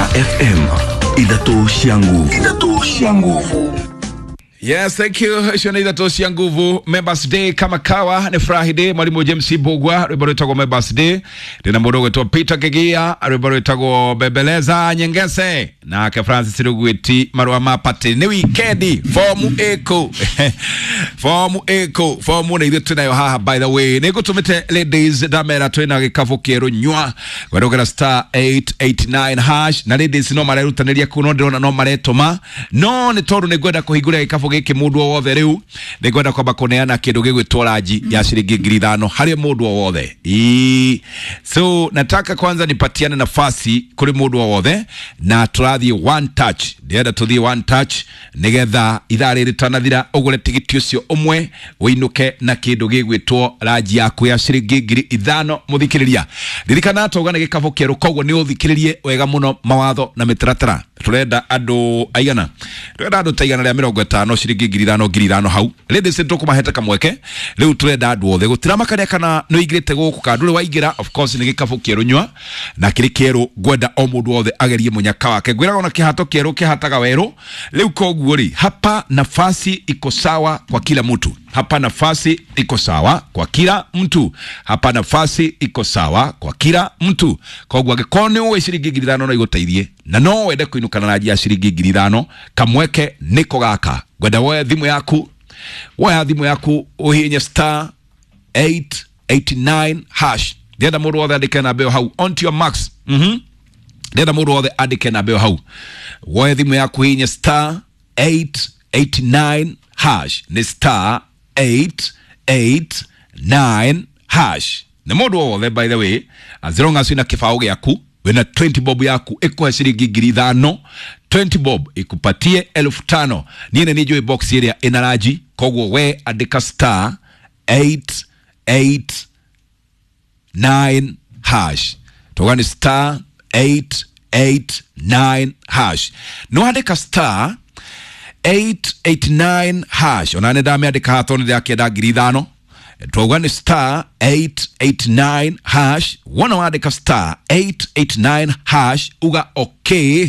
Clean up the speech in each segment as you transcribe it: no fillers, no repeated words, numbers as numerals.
Gukena FM, ithatũ cia nguvu, ithatũ cia nguvu. Yes, thank you. Icio nĩ ithatũ cia nguvu. Members Day kama kawa nĩ Friday. Mwalimu James Bugwa rwĩmbo rwĩtagwo Members Day. Ndĩna mũndũ ũgwĩtwo Peter Kigia rwĩmbo rwĩtagwo Bembeleza Nyengese nake Francis Rugwiti marũa ma party nĩ wikendi fomu ĩkũ fomu ĩkũ fomu nĩ ithuĩ twĩnayo haha. By the way, nĩ ngũtũmĩte ladies ndamera twĩna gĩkabũ kĩerũ nyua gwerũgera star 889 hash na ladies no marerutanĩria kuu no ndĩrona no maretũma no nĩ tondũ nĩ ngwenda kũhingũra gĩkabũ gĩkĩ mũndũ o wothe rĩu nĩ ngwenda kwamba kũneana kĩndũ gĩgwĩtwo ranji ya ciringi 5,000 harĩ mũndũ o wothe. Ii. So nataka kwanza nipatiane nafasi kũrĩ mũndũ o wothe na tũrathiĩ one touch, ndĩrenda tũthiĩ one touch nĩgetha ithaa rĩrĩ rĩtanathira ũgũre tigiti ũcio ũmwe ũinũke na kĩndũ gĩgwĩtwo ranji yaku ya ciringi 5,000. Mũthikĩrĩria, ririkana twauga nĩ gĩkabũ kĩerũ, koguo nĩ ũthikĩrĩrie wega mũno mawatho na mĩtaratara. Tũrenda andũ aigana? Tũrenda andũ ta 150, ciringi 5,000 5,000 hau. Ladies nĩ tũkũmahete kamweke rĩu, tũrenda andũ othe gũtiramakania kana nĩ ũingĩrĩte gũkũ kana ndũrĩ waingĩra. Of course nĩ gĩkabũ kĩerũ nyua na kĩrĩ kĩerũ, ngwenda o mũndũ wothe agerie mũnyaka wake. Ngwĩraga ona kĩhato kĩerũ kĩhataga werũ rĩu, koguo rĩ, hapa nafasi iko sawa kwa kila mtu, hapa nafasi iko sawa kwa kila mtu, hapa nafasi iko sawa kwa kila mtu. Koguo angĩkorwo nĩ ũĩ ciringi 5,000 no igũteithie na no wende kũinũka na ranji ya ciringi 5,000, kamweke nĩko gaka. Ngwenda woe thimũ yaku, woya thimũ yaku ũhihinye star 889 hash. Ndĩrenda mũndũ wothe andĩke namba ĩyo hau on to your max. Ndĩrenda mũndũ wothe andĩke namba ĩyo hau, woe thimũ yaku hihinye star 889 hash, nĩ star 889 hash nĩ mũndũ o wothe. By the way, as long as wĩna kĩbaũ gĩaku, wĩna 20 bob yaku ĩkũhe ciringi 5,000, 20 bob ikupatie 5,000. Niĩ nĩ njũĩ box ĩrĩa ĩna ranji, koguo we andĩka star 889 hash, tuga nĩ star 889 hash. No andĩka star 889 hash, ona nĩ ndamĩandĩka haha tondũ nĩ ndĩrakĩenda 5,000. Twauga nĩ star 889 hash. Wona wandĩka star 889 hash, uga okay,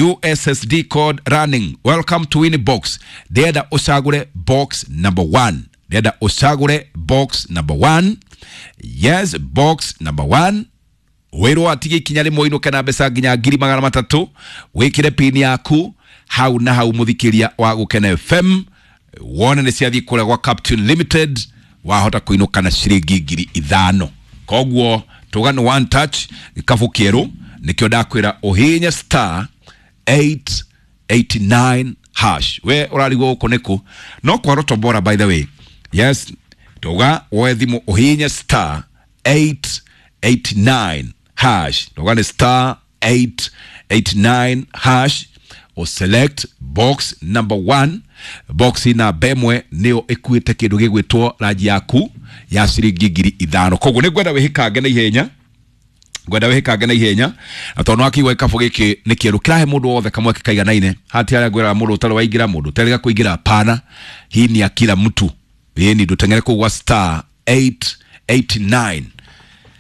USSD code running, welcome to Winnie Box. Ndĩrenda ũcagũre box number 1, ndĩrenda ũcagũre box number 1. Yes, box number 1. Wĩrwo atige ikinya rĩmwe ũinũke na mbeca nginya 300,000. Wĩkĩre pini yaku hau na hau, mũthikĩria wa Gũkena FM, wone nĩ ciathiĩ kũrĩa gwa Captain Limited, wahota kũinũka na ciringi 5,000. Koguo tuga nĩ one touch, gĩkabũ kĩerũ nĩkĩo ndakwĩra ũhihinye star 889 hash. We ũrarigwo gũkũ nĩkũ? No kwa Roto Bora, by the way. Yes, tuga woe thimũ ũhihinye star 889 hash, tuga nĩ star 889 hash, o select box number 1. Box namba ĩmwe nĩyo ĩkuĩte kĩndũ gĩgwĩtwo ranji yaku ya ciringi 5,000. Koguo nĩ ngwenda wĩhĩkange na ihenya, ngwenda wĩhĩkange na ihenya, na tondũ wakĩigua gĩkabũ gĩkĩ nĩ kĩerũ kĩrahe mũndũ wothe kamweke kaiganaine. Hati harĩa ngwĩraga mũndũ ũtarĩ waingĩra, mũndũ ũtarĩga kũingĩra, pana hii ni ya kila mtu. Ĩni ndũteng'ere kũu gwa star 889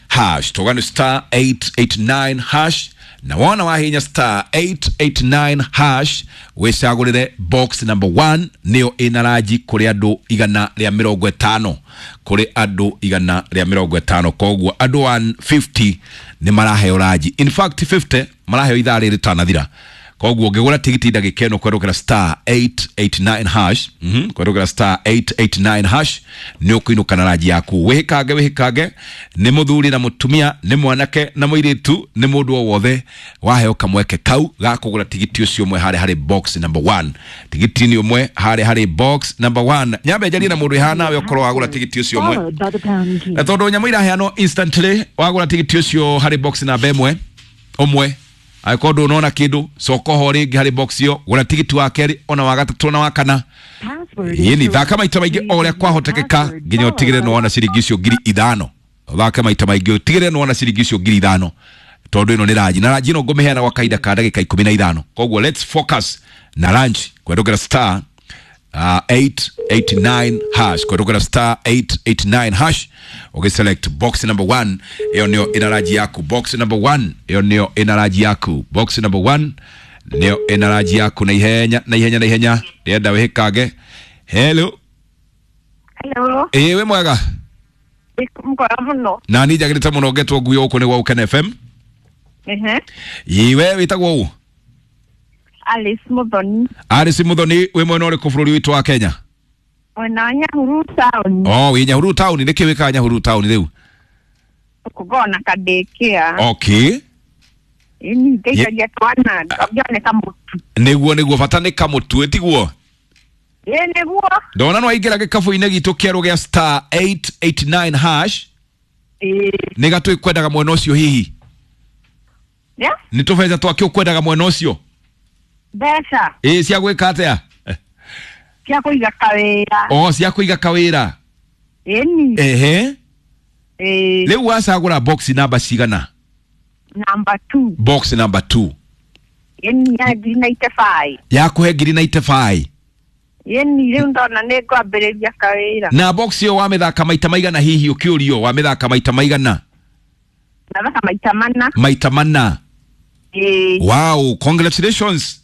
hash, tuga nĩ star 889 hash, na wona wahinya star 889 hash wĩcagũrĩre box number 1 nĩyo ĩna ranji kũrĩ andũ 150, kũrĩ andũ 150. Koguo andũ 150 nĩ maraheo ranji, in fact 50 maraheo ithaa rĩrĩ rĩtanathira. Koguo ũngĩgũra tigiti ndagĩka ĩno kwerũkĩra star 889 hash, kwerũkĩra star 889 hash nĩ ũkũinũka na ranji yaku. Wĩhĩkange, wĩhĩkange, nĩ mũthuri na mũtumia, nĩ mwanake na mũirĩtu, nĩ mũndũ o wothe waheo kamweke kau ga kũgũra tigiti ũcio ũmwe harĩa harĩ box number 1, tigiti nĩ ũmwe harĩa harĩ box number 1. Nyambe njarie na mũndũ ĩhana nawe ũkorwo wagũra tigiti ũcio ũmwe, Followed by the pound key. Na tondũ nyamũ iraheanwo instantly wagũra tigiti ũcio harĩ box namba ĩmwe ũmwe, angĩkorwo ndũnona kĩndũ coka ho rĩngĩ harĩ box ĩyo, gũra tigiti wa kerĩ ona wa gatatũ na wa kana. Password is Yĩni thaka correct. maita maingĩ o ũrĩa kwahotekeka Password nginya ũtigĩrĩre followed by nĩwona ciringi icio 5,000. Ũthake maita maingĩ ũtigĩrĩre nĩwona ciringi icio 5,000, tondũ ĩno nĩ ranji na ranji ĩno ngũmĩheana gwa kahinda ka ndagĩka 15. Koguo let's focus na ranji kwendũkĩra star 889 hash kũhetũkĩra star 889 hash ũgĩselect box number 1 ĩyo nĩyo ĩna ranji yaku. Box number 1 ĩyo nĩyo ĩna ranji yaku. Box number 1 nĩyo ĩna ranji yaku na ihenya na ihenya na ihenya ndĩrenda wĩhĩkange. Hello. Hello. Ĩĩ, wĩ mwega? Mwega mũno. Na niĩ njagĩrĩte mũno ngetwo ngui gũkũ nĩ gwa Ũkene FM. Ehe. Ĩĩ, we wĩtagwo ũ? Alice Muthoni. Alice Muthoni, wĩ mwena ũrĩkũ bũrũri witũ wa Kenya? Mwena wa Nyahururu town. Oh, wĩ Nyahururu town. Nĩkĩ wĩkaga Nyahururu town rĩu? Kũgona kadĩkĩa. Okay. Ĩni ndeithagia twana ngone kamũtu. Nĩguo nĩguo, bata nĩ kamũtu, ĩtiguo? Ĩ nĩguo. Ndona no waingĩra gĩkabũ-inĩ gitũ kĩerũ gĩa star 889 hash. Ĩ. Nĩ gatũ kwendaga mwena ũcio hihi? Yeah? Nĩ tũbeca twakĩ ũkwendaga mwena ũcio? Mbeca. Ĩ, cia gwĩka atĩa? Cia kũiga kawĩra. Oh, cia kũiga kawĩra. Ĩni. Ehe. Ĩ. Rĩu wacagũra box namba cigana? Number 2. Box number 2. Ĩni ya 95. Yakũhe ngiri 95. Ĩni rĩu ndona nĩ ngwambĩrĩria kawĩra. Na box ĩyo wamĩthaka maita maigana hihi ũkĩũrio wamĩthaka maita maigana? Nathaka maita mana. Maita mana. Ĩ. Wow, congratulations.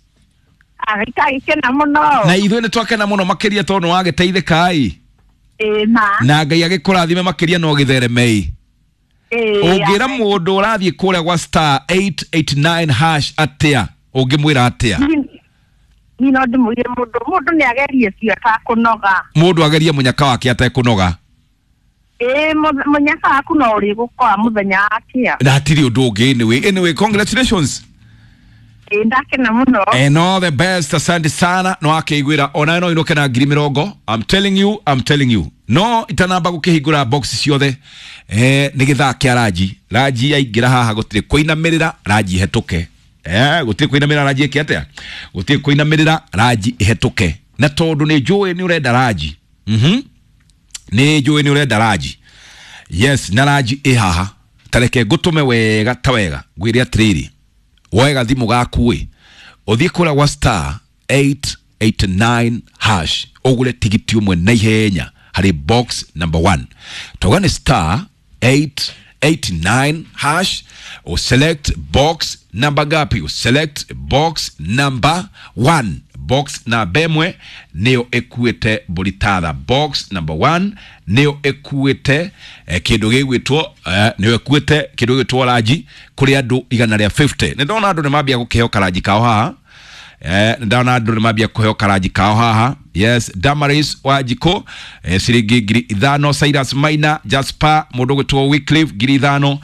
Agĩkagĩkena mũno. Na ithuĩ nĩ twakena mũno makĩria tondũ nĩ wagĩteithĩka ĩ. Ĩ ma. Na Ngai agĩkũrathime makĩria no gĩtheremei. Ĩ. Ũngĩra mũndũ ũrathiĩ kũrĩa gwa star 889 hash atĩa? Ũngĩmwĩra atĩa? Niĩ no ndĩmwĩre mũndũ nĩ agerie biũ atakũnoga. Mũndũ agerie mũnyaka wake atekũnoga. Ĩ, mũnyaka waku no ũrĩgũkora mũthenya wakĩa. Na hatirĩ ũndũ ũngĩ. Anyway, anyway, congratulations. Ĩ, ndakena mũno. And all the best, asante sana. No akĩiguĩra ona no inũke na ngiri mĩrongo. I'm telling you, I'm telling you. No itanamba gũkĩhingũra box ciothe, nĩ gĩthaa kĩa ranji. Ranji yaingĩra haha gũtirĩ kũinamĩrĩra, ranji ĩhetũke. Gũtirĩ kũinamĩrĩra ranji ĩke atĩa? Gũtirĩ kũinamĩrĩra ranji ĩhetũke. Na tondũ nĩ njũĩ nĩ ũrenda ranji. Nĩ njũĩ nĩ ũrenda ranji. Yes, na ranji ĩ haha. Tareke ngũtũme wega ta wega. Ngwĩre atĩrĩrĩ, woe gathimũ gaku ĩ, ũthiĩ kũrĩa gwa star 889 hash ũgũre tigiti ũmwe na ihenya harĩ box number 1. Tauga nĩ star 889 hash, ũselect box number ngapi? Ũselect box number 1. Box namba ĩmwe nĩyo ĩkuĩte mbũri tatha. Box number 1 nĩyo ĩkuĩte kĩndũ gĩgwĩtwo nĩyo ĩkuĩte kĩndũ gĩgwĩtwo ranji kũrĩ andũ igana rĩa 50. Nĩ ndona andũ nĩ mambia gũkĩheo karanji kao haha. Nĩ ndona andũ nĩ mambia kũheo karanji kao haha. Yes, Damaris Wanjikũ, ciringi 5,000. Cyrus Maina, Jasper, mũndũ ũgwĩtwo Wycliffe 5,000,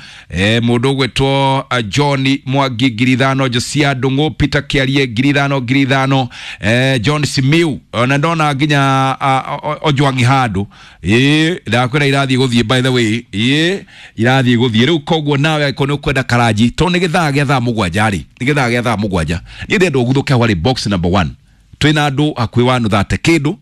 mũndũ ũgwĩtwo John Mwangi 5,000, Josia Ndung'u, Peter Kiarie 5,000 5,000, John Simiu, ona ndona nginya Ojwang'i handũ. Ĩ, ndakwĩra irathiĩ gũthiĩ, by the way. Ĩ, irathiĩ gũthiĩ rĩu. Koguo nawe angĩkorwo nĩ ũkwenda karanji, tondũ nĩ gĩthaa gĩa thaa mũgwanja rĩ, nĩ gĩthaa gĩa thaa mũgwanja, niĩ ndĩrenda ũguthũke hau harĩ box number 1. Twĩna andũ hakuhĩ wa nuthu kĩndũ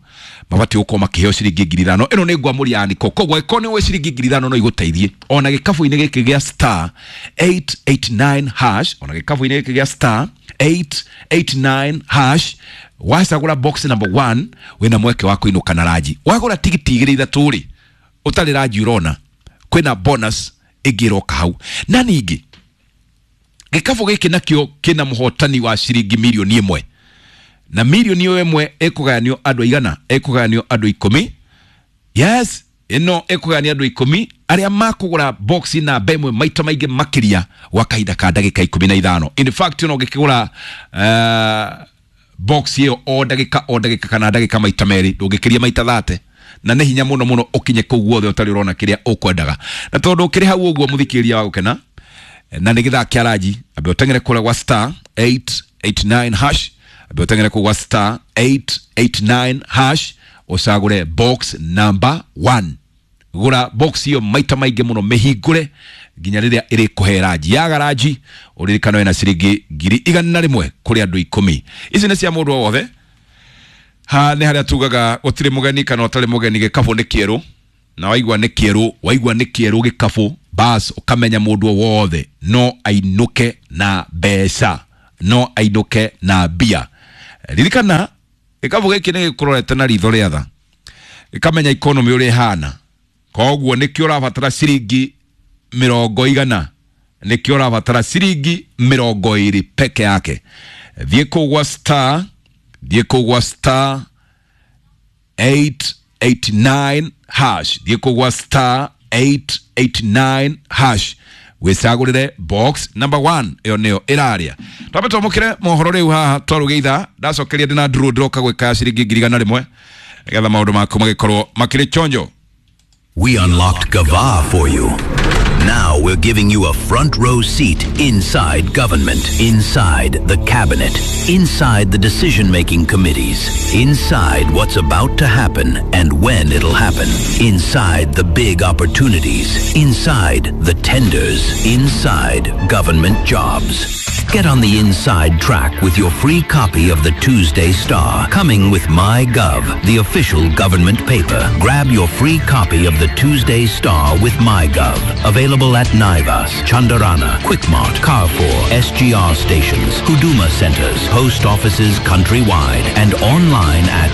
mabatiĩ gũkorwo makĩheo ciringi 5,000. Ĩno nĩ ngwamũria ya niko. Koguo angĩkorwo nĩ ũĩ ciringi 5,000 no igũteithie ona gĩkabũ-inĩ gĩkĩ gĩa star 889 hash, ona gĩkabũ-inĩ gĩkĩ gĩa star 889 hash, wacagũra box number 1 wĩna mweke wa kũinũka na ranji. Wagũra tigiti igĩrĩ ithatũ rĩ, ũtarĩ ranji ũrona kwĩna bonus ĩngĩ ĩroka hau. Na ningĩ gĩkabũ gĩkĩ nakĩo kĩna mũhotani wa ciringi mirioni 1, na mirioni ĩyo ĩmwe ĩkũgayanio andũ aigana? Ĩkũgayanio andũ 10. Yes, ĩno ĩkũgayanio andũ 10 arĩa makũgũra box namba ĩmwe maita maingĩ makĩria gwa kahinda ka ndagĩka 15. In fact, ona ũngĩkĩgũra box ĩyo o ndagĩka o ndagĩka kana ndagĩka maita merĩ, ndũngĩkĩria maita 30, na nĩ hinya mũno mũno ũkinye kũu guothe ũtarĩ ũrona kĩrĩa ũkwendaga. Na tondũ ũkĩrĩ hau ũguo mũthikĩrĩria wa gũkena, na nĩ gĩthaa kĩa ranji, ambe ũteng'ere kũrĩa gwa star 889 hash, ambe ũteng'ere kũu gwa star 889 hash ũcagũre box number 1. Gũra box ĩyo maita maingĩ mũno, mĩhingũre nginya rĩrĩa ĩrĩkũhe ranji. Yaga ranji, ũririkano ĩna ciringi 101,000 kũrĩ andũ 10. Ici nĩ cia mũndũ o wothe. Ha, nĩ harĩa tugaga gũtirĩ mũgeni kana ũtarĩ mũgeni, gĩkabũ nĩ kĩerũ. Na waigua nĩ kĩerũ, waigua nĩ kĩerũ gĩkabũ, bas ũkamenya mũndũ o wothe no ainũke na mbeca, no ainũke na mbia. Ririkana Gĩkabu gĩkĩ nĩ gĩkũrorete na ritho rĩa tha, gĩkamenya economy ũrĩa ĩhana, koguo nĩkĩo ũrabatara ciringi 100, nĩkĩo ũrabatara ciringi 20 peke yake. Thiĩ kũu gwa star, thiĩ kũu gwa star 889 hash, thiĩ kũu gwa star 889 hash wĩcagũrĩre box number 1, ĩyo nĩyo ĩraria. Twambe twamũkĩre mohoro rĩu haha twarũge ithaa ndacokeria ndĩna nduru ndĩroka gwĩka ciringi 100,000 nĩgetha maũndũ maku magĩkorwo makĩrĩ chonjo. We unlocked Gava for you. Now we're giving you a front row seat inside government, inside the cabinet, inside the decision-making committees, inside what's about to happen and when it'll happen, inside the big opportunities, inside the tenders, inside government jobs. Get on the inside track with your free copy of the Tuesday Star, coming with MyGov, the official government paper. Grab your free copy of the Tuesday Star with MyGov. Available at Naivas, Chandarana, Quickmart, Carrefour, SGR stations, Huduma centers, post offices countrywide, and online at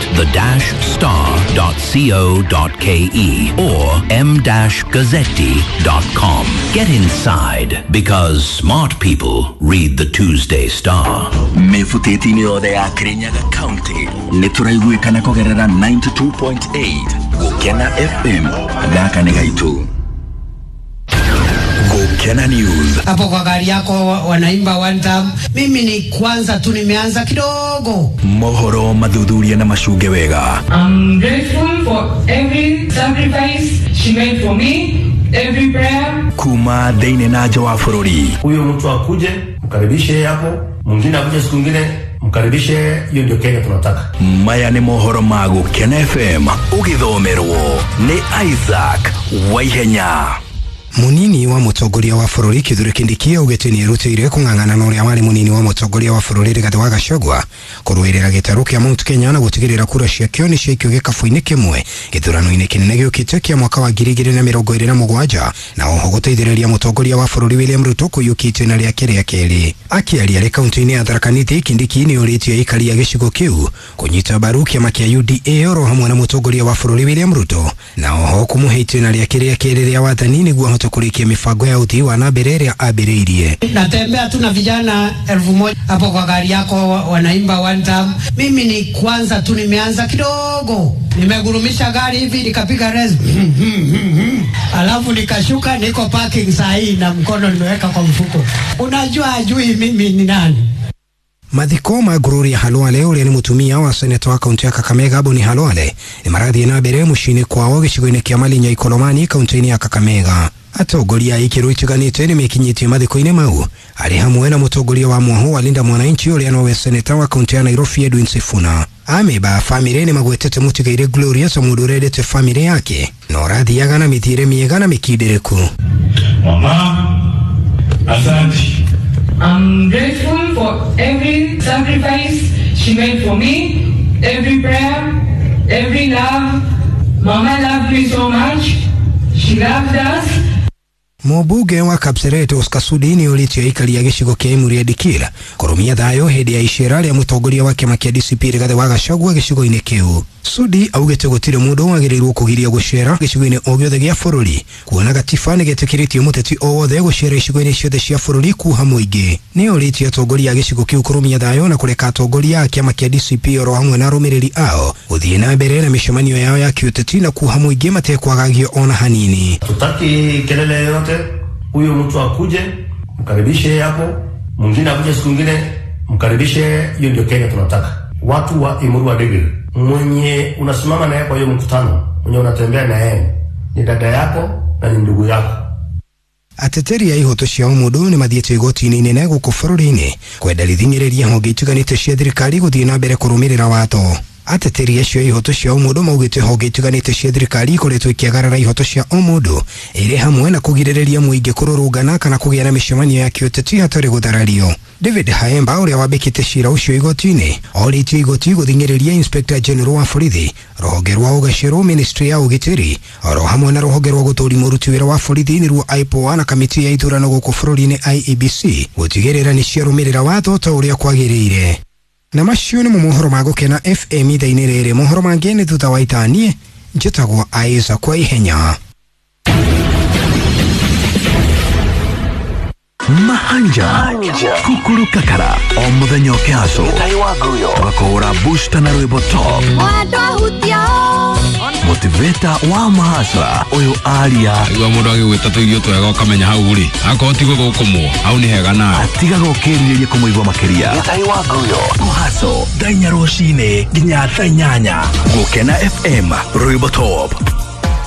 the-star.co.ke or m-gazzetti.com. Get inside, because smart people read the Tuesday Star. Mĩbutĩti-inĩ yothe ya Kirinyaga County nĩ tũraiguĩkana kũgerera 92.8 Gũkena FM. Gaka nĩ gaitũ. Gũkena News. Hapo kwa gari yako wanaimba one time. Mimi ni kwanza tu nimeanza kidogo. Mohoro mathuthuria na macunge wega. I'm grateful for every sacrifice she made for me, every prayer. Kuma thĩinĩ na nja wa bũrũri. Huyo mtu akuje mkaribishe hapo, mwingine akuje siku ingine mkaribishe. Hiyo ndio Kenya tunataka. Maya nĩ mohoro ma Gũkena FM ũgĩthomerwo nĩ Isaac Waihenya. Munini wa mutongoria wa bũrũri Kithure Kindiki augĩte nĩerutĩire kũng'ang'ana na ũrĩa warĩ munini wa mutongoria wa bũrũri Rigathĩ wa Gachagua kũrũĩrĩra gĩtarũ kĩa Mount Kenya na gũtigĩrĩra kura ciakĩo nĩ ciaikio gĩkabũ-inĩ kĩmwe gĩthurano-inĩ kĩnene gĩũkĩte kĩa mwaka wa 2027 na oho gũteithĩrĩria mũtongoria wa bũrũri William Ruto kũiyũkia itĩna rĩake rĩa kerĩ. Akĩaria arĩ kaunti-inĩ ya Tharaka Nithi, Kindiki nĩorĩtie aikari a gĩcigo kĩu kũnyita mbaru kĩama kĩa UDA oro hamwe na mũtongoria wa bũrũri William Ruto na oho kũmũhe itĩna rĩake rĩa kerĩ rĩa wathani nĩguo ahote kũrĩkia mĩbango ya ũthii wa na mbere ĩrĩa ambĩrĩirie. Natembea tu na vijana 1,000 hapo kwa gari yako wanaimba one time. Mimi ni kwanza tu nimeanza kidogo, nimegurumisha gari hivi nikapiga res alafu nikashuka, niko parking saa hii na mkono nimeweka kwa mfuko. Unajua ajui mimi ni nani. Mathiko ma Gloria Halwale ũrĩa nĩ mũtumia wa seneta wa kaunti ya Kakamega Boni Halwale nĩ marathiĩ na mbere mũciĩ-inĩ kwao gĩcigo-inĩ kĩa Malinya Ikolomani kaunti-inĩ ya Kakamega. Atongoria a ikĩro itiganĩte nĩ mekinyĩtie mathiko-inĩ mau arĩ hamwe na mũtongoria wa mwaho wa Linda Mwananchi ũrĩa nowe seneta wa kaunti ya Nairobi Edwin Sifuna. Amemba a bamĩrĩ nĩ magwetete mũtigairĩ Gloria ta mũndũ ũrendete bamĩrĩ yake na ũrathiaga na mĩthiĩre mĩega na mĩkindĩrĩku. Mama, asante. I'm grateful for every sacrifice she made for me, every prayer, every love. Mama loved me so much. She loved us. Mũmbunge wa Kapseret Oscar Sudi nĩ ũrĩtie aikari a gĩcigo kĩa Emurua Dikirr kũrũmia thayũ hĩndĩ ya icera rĩa mũtongoria wa kĩama kĩa DCP Rigathĩ wa Gachagua gĩcigo-inĩ kĩu. Sudi augĩte gũtirĩ mũndũ wagĩrĩirwo kũgiria gũcera gĩcigo-inĩ o gĩothe gĩa bũrũri kuona gatiba nĩ getĩkĩrĩtie mũteti o wothe gũcera icigo-inĩ ciothe cia bũrũri kuha mũingĩ. Nĩ ũrĩtie atongoria a gĩcigo kĩu kũrũmia thayũ na kũreka atongoria a kĩama kĩa DCP oro hamwe na arũmĩrĩri ao gũthiĩ na mbere na mĩcemanio yao ya kĩũteti na kuha mũingĩ matekwagagio ona hanini. Tutaki kelele yoyote. Huyo mtu akuje mkaribishe hapo, mwingine akuje siku ingine mkaribishe. Hiyo ndio Kenya tunataka. Watu wa Emurua Dikirr, mwenye unasimama naye kwa hiyo mkutano, mwenye unatembea na yeye ni dada yako na ni ndugu yako. Ateteri a ihoto cia ũmũndũ nĩ mathiĩte igoti-inĩ inene gũkũ bũrũri-inĩ kwenda rĩthing'ĩrĩria honge itiganĩte cia thirikari gũthiĩ na mbere kũrũmĩrĩra watho. Ateteri acio a ihoto cia ũmũndũ maugĩte honge itiganĩte cia thirikari ikoretwo ikĩagarara ihoto cia ũmũndũ ĩrĩ hamwe na kũgirĩrĩria mũingĩ kũrũrũngana kana kũgĩa na mĩcemanio ya kĩũteti hatarĩ gũtharario. David Haemba ũrĩa wambĩkĩte cira ũcio igoti-inĩ orĩtie igoti gũthing'ĩrĩria Inspector General wa borithi, rũhonge rwa ũgacerwo, Ministry ya ũgitĩri oro hamwe na rũhonge rwa gũtũũri mũruti wĩra wa borithi nĩruo IPOA na kamĩtĩ ya ithurano gũkũ bũrũri-inĩ IEBC gũtigĩrĩra nĩ ciarũmĩrĩra watho ta ũrĩa kwagĩrĩire. Na macio nĩmo mohoro ma Gũkena FM ithaa-inĩ rĩrĩ. Mohoro mangĩ nĩ thutha wa ithaa. Njĩtagwo Aiza kwa ihenya. Mahanja kukuru kakara o muthenya ũkĩhaco tũgakũhũra booster na rwĩmbo top motivator wa mahasra ũyũ aria. Igua mũndũ agĩgwĩta tũirio twega ũkamenya hau rĩ akorwo ti gũthũkũmwo hau nĩ hega nawe. Atigaga ũkĩrirĩria kũmũigua makĩria. Kũhaco thaa 4 rũcinĩ nginya thaa 8. Gũkena FM, rwĩmbo top.